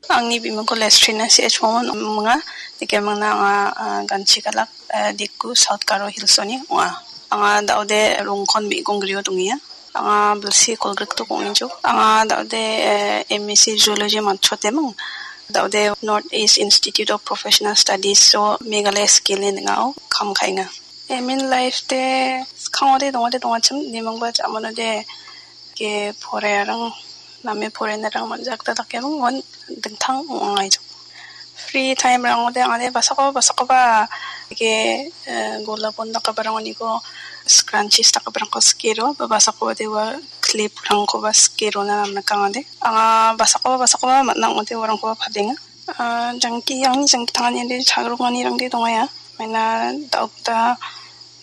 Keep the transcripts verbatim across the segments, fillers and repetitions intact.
Angni bimingko Lestrina C H Momon ong·a. Nikemangna anga, ah, ganchi galak, eh, Diku, South Garo Hills-oni ong·a. Anga da·ode Rongkon me·gonggrio dongenga. Anga bilsi kolgrikdok ong·ejok. Anga da·ode, eh, M S C Zoology matchoteming. Da·ode North East Institute of Professional Studies-o Meghalaya skill-ni ning·ao kam ka·enga. Aim in life-de skangode dongode dongachim, nimingba jamonode ke porerang, name porenarang man·jakda dakeming, uan dingtang ong·aijok. Free time-rangode angade basako, basakoba ke, eh, golapon dakabarangoniko scrunchies dakabarangko sikero, ba basakode ua clip-rangkoba sikerona namnikangade. Anga basako, basakoba man·a ong·ode uarangkoba padenga. Ah, jangki, angni jangki tangani ande chagrokmanirangde dongaia. Maina da·okta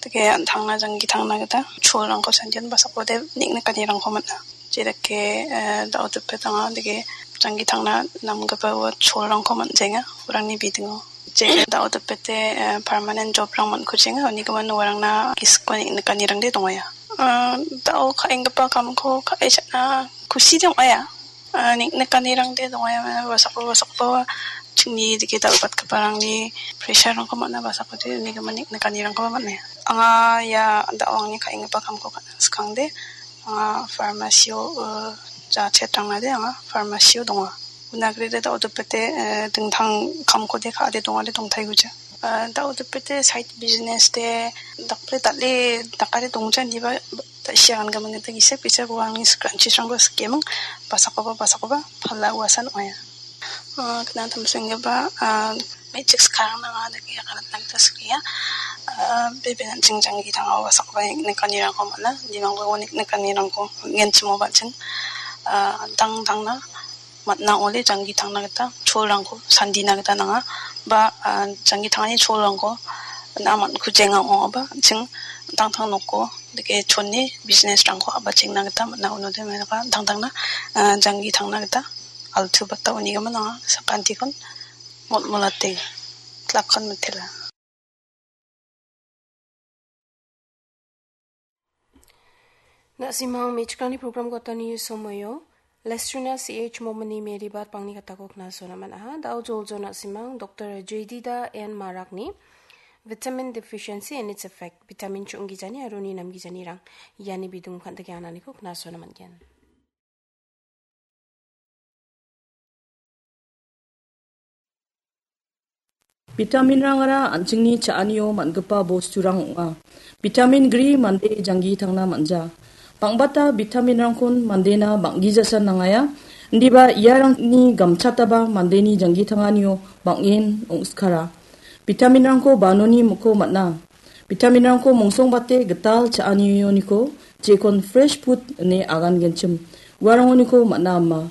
dake an·tangna jangki tangna gita cholrangko sandian basakode niknikanirangko man·a. Jedake, eh, da·o dipet anga dake jangki tangna namgipa ua cholrangko man·jaenga, uarangni bidingo. Je da·o dipete, eh, permanent job-rang man·kujenga, unigimin uarangna gisiko niknikanirangde dongaia. Ah, da·o ka·enggipa kamko ka·e cha·na kuside ong·aia. Ah, nik-, nikanirangde dongaia, basako, basako chingni dike dal·batgiparangni pressure-rangko man·a, basakode unigimin nik-, nikanirangkoba man·a. Anga ia da·o angni ka·enggipa kamko ka·na skangde, anga pharmacy-o, eh, ja chet rangnade anga pharmacy-o donga. Unagrede da·o dipete, eh, dingtang kamkode ka·ade dongade dongtaiguja. Ah, da·o dipete side business-de dakple dal·e dakade dongja indiba ta·, siagangimin gita gisep gisep uangni scrunchies-rangko sikeming, basakoba, basakoba pala uasan ong·aia. Ah, kna tamsenggipa, ah, me·chik skarangna anga dake aganatna gita sikenga. Ah, bebe an·ching jangki tangao basakoba nik-, nikanirangko man·a, nimangba ua nik-, nikanirangko on·genchimo ba an·ching, ah, dangdangna man·a ong·ode jangki tangna gita cholrangko sandina gita nanga. Ba, ah, jangki tangani cholrangko na man-, kujenga ong·aba an·ching dangtang noko dake chone business-rangko a·bachengna gita man·a, unode menaka dangtangna, ah, jangki tangna gita altu bata unigimin anga sakantikon motmolate klakkon mitela. Na·simang me·chikrangni program gotani somoio Lestrina C H Momoni Meribat pangni katako knasona man·aha. Da·o joljol na·simang Doktor Jedida N Marakni Vitamin Deficiency and Its Effect, vitamin chu·onggijani aro uni namgijanirang, iani bidung kan·dike ananiko knasona man·gen. Vitaminrangara an·chingni cha·anio man·gipa bosturang ong·a. Vitamin gri mande janggi tangna man·ja. Bang·bata vitaminrangkon mandena bang·gijasan nangaia. Indiba iarangni gamchataba mandeni janggi tanganio bang·en ong·skara. Vitaminrangko banoni miko man·a. Vitaminrangko mongsongbate gital cha·anioniko jekon fresh food ine agangenchim. Uarangoniko man·a ama.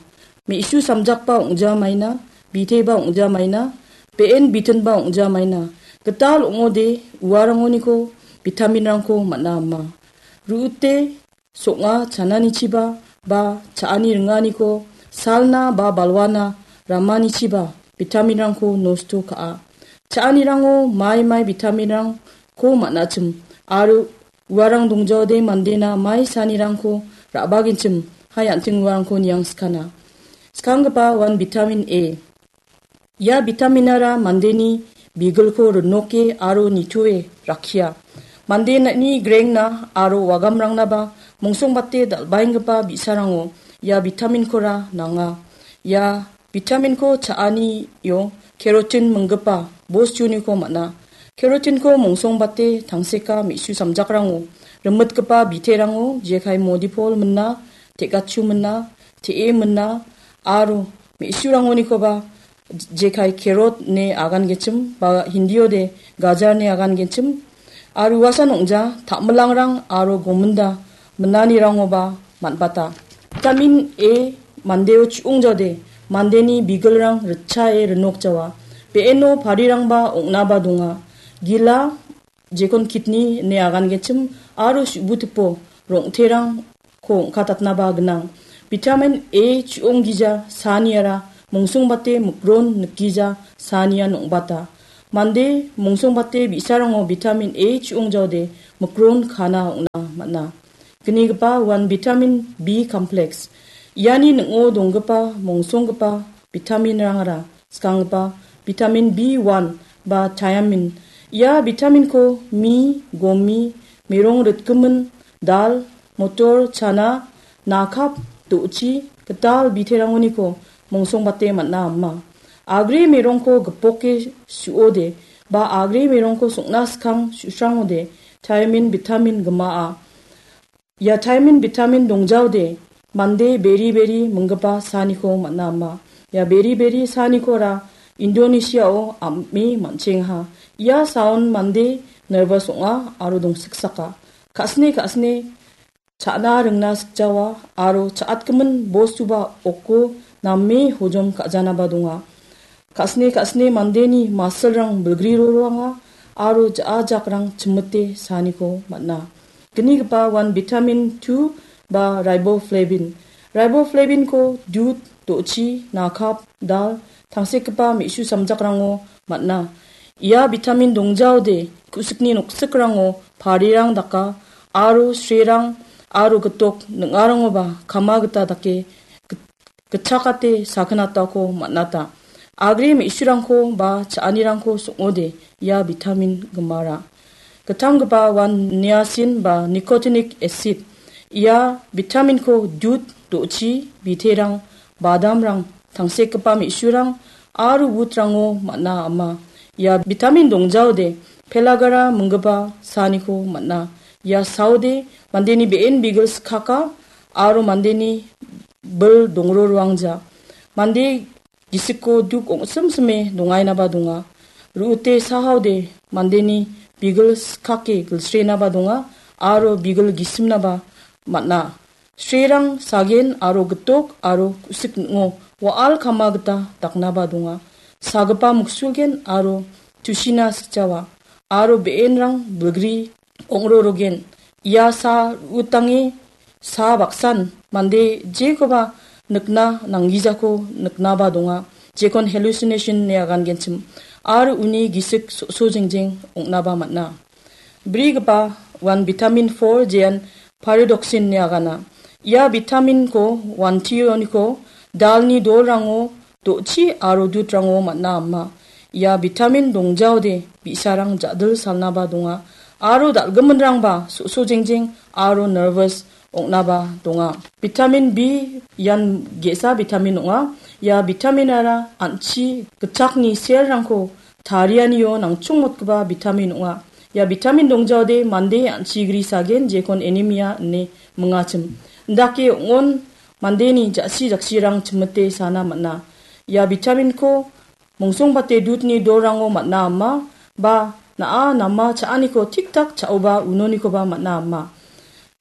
Me·su samjakba ong·jamaina, biteba ong·jamaina, be·en bitinba ong·jamaina. Gital ong·ode uarangoniko vitaminrangko man·a ama. Ru·ute song·a chananichiba ba cha·ani ringaniko salna ba balwana ramanichiba vitaminrangko nosto ka·a. Cha·anirango mai mai vitaminrangko man·achim aro uarang dongjaode mandena mai sanirangko ra·bagenchim hai an·ching uarangko niangskana. Skanggipa uan vitamin A. Ia vitaminara mandeni bigilko rinoke aro nitoe rakkia. Mandeni grengna aro wagamrangnaba mongsongbate dal·baenggipa bi·sarango ia vitaminkora nanga. Ia vitaminko cha·anio kerotin minggipa bostuniko man·a. Kerotinko mongsongbate tangseka me·su samjakrango, rimitgipa biterango, jekai modipol mina, te·gachu mina, te·e mina, aro me·surangonikoba jekai kerot ine agangechim ba Hindiode gajar ine agangechim. Aro uasan ong·ja, ta·milangrang aro gominda minanirangoba man·bata. Vitamin A mandeo chu·ongjaode mandeni bigilrang ritchae rinokjawa. Be·eno parirangba ong·naba donga. Gila, jekon kidney ine agangechim aro su·butipo rong·terang ko ong·katatnaba gnang. Vitamin A chu·onggija saaniara mongsongbate mikron nikgija saanian ong·bata. Mande mongsongbate bi·sarango vitamin A chu·ongjaode mikron kana ong·na man·a. Gnigipa uan vitamin B complex. Iani ning·o donggipa mongsonggipa vitaminrangara skanggipa vitamin B one ba thiamin. Ia vitaminko mi, gomi, merong ritgimin, dal, motor, chana, nakap, do·chi, gital biterangoniko mongsongbate man·a ama. Agre merongko gipoke su·ode ba agre merongko song·na skang su·srangode thiamin vitamin gimaa. Ia thiamin vitamin dongjaode mande beri beri minggipa saaniko man·a ama. Ia beri beri saanikora Indonesiao am·e man·chengaha. Ia saon mande nervous ong·a aro dongsiksaka. Ka·sine ka·sine cha·na ringna sikjawa aro cha·atgimin bostuba oko name hojom ka·janaba donga. Ka·sine ka·sine mandeni masilrang bilgri roroanga aro ja·a jakrang chimite saaniko man·a. Gnigipa uan vitamin two ba riboflavin. Riboflavinko dud, do·chi, nakap, dal, tangsekgipa me·su samjakrango man·a. Ia vitamin dongjaode ku·sikni noksikrango parirang daka aro srerang aro gitok ning·arangoba kama gita dake git-, gitchakate sakinatako man·ata. Agre me·surangko ba cha·anirangko song·ode ia vitamin gimara. Gittamgipa uan niacin ba nicotinic acid. Ia vitaminko dud, do·chi, biterang, badamrang, tangsekgipa me·surang aro wutrango man·a ama. Ia vitamin dongjaode pelagara minggipa saaniko man·a. Ia saode mandeni be·en bigil skaka aro mandeni bil dongroroangja. Mande gisiko duk ong·simsime dongainaba donga. Ru·ute sahaode mandeni bigil skake gilsrenaba donga aro bigil gisimnaba man·a. Srerang sagen aro gitok aro ku·sik ning·o wa·al kama gita daknaba donga. Sagipa muksulgen aro tusina sikjawa aro be·enrang bilgri ong·rorogen. Ia sa ru·utange sa baksan mande jekoba nikna nanggijako niknaba donga. Jekon hallucination ine agangenchim aro uni gisik so·so jengjeng ong·naba man·a. Brigipa uan vitamin four jean pyridoxine ine agana. Ia vitaminko uan tioniko dalni dolrango do·chi aro dudrango man·a ama. Ia vitamin dongjaode bi·sarang ja·dil salnaba donga aro dal·giminrangba so·so jengjeng aro nervous ong·naba donga. Vitamin B ian ge·sa vitamin ong·a. Ia vitaminara an·chi gitchakni selrangko tarianio nangchongmotgipa vitamin ong·a. Ia vitamin dongjaode mande an·chigri sagen jekon anemia ine mingachim. Indake ong·on mandeni ja·si jaksirang chimite sana man·a. Ia vitaminko mongsongbate dudni dolrango man·a ama ba na·a nama cha·aniko tik tak cha·oba unonikoba man·a ama.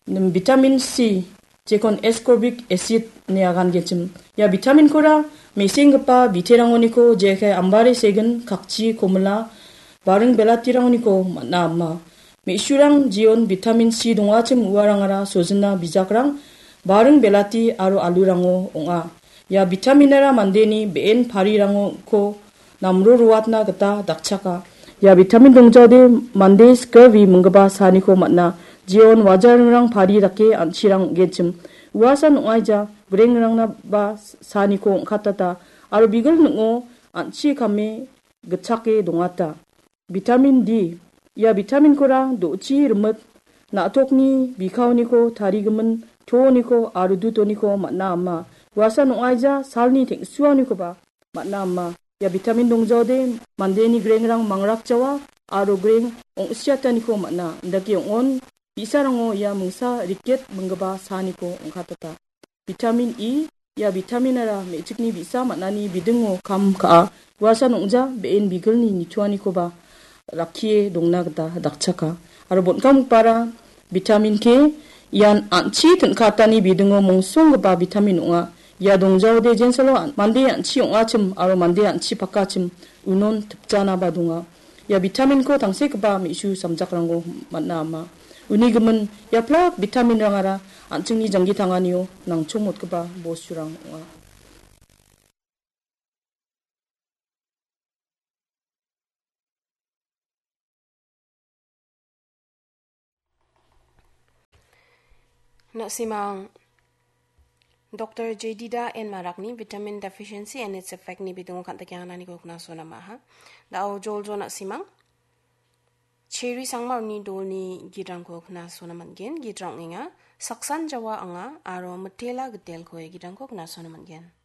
Nim-, vitamin C, jekon ascorbic acid ine agangenchim. Ia vitaminkora mesenggipa biterangoniko jekai ambari segin, kakchi, komila, baring belatirangoniko man·a ama. Me·surang jeon vitamin C dongachim uarangara sojina bijakrang, baring belati aro alurango ong·a. Ia vitaminara mandeni be·en parirangko namro roatna gita dakchaka. Ia vitamin dongjaode mande scurvy minggipa saaniko man·a. Jeon wajaringrang pari dake an·chirang ong·genchim. Uasan ong·aija, grengrangna ba saaniko ong·katata. Aro bigil ning·o an·chi kame gitchake dongata. Vitamin D. Ia vitaminkora do·chi rimit, na·tokni bikaoniko tarigimin tooniko aro dutoniko man·a ama. Uasan ong·aija salni teng·suanikoba man·a ama. Ia vitamin dongjaode mandeni grengrang mangrakjawa aro greng ong·siataniko man·a. Indake ong·on bi·sarango ia mingsa riket minggipa saaniko ong·katata. Vitamin E, ia vitaminara me·chikni bi·sa man·ani bidingo kam ka·a. Uasan ong·ja be·en bigilni nitoanikoba rakkie dongna gita dakchaka. Aro bon·kamgipara vitamin K, ian an·chi tin·katani bidingo mongsonggipa vitamin ong·a. Ia dongjaode jensalo an-, mande an·chi ong·achim aro mande an·chi pakachim unon tipjanaba donga. Ia vitaminko tangsekgipa me·su samjakrangko man·a ama. Uni gimin, ia plak vitaminrangara an·chingni janggi tanganio nangchongmotgipa bosturang ong·a. Na·simang Doktor Jedida N Marakni Vitamin Deficiency and Its Effect ni bidingo kan·tike anganiko knasona maha. Da·o Joljona Simang, Cheri Sangma uni dolni gidrangko knasona man·gen. Gidra ong·enga Saksan Jawa Anga aro Mitela Gitelko gidrangko knasona man·gen.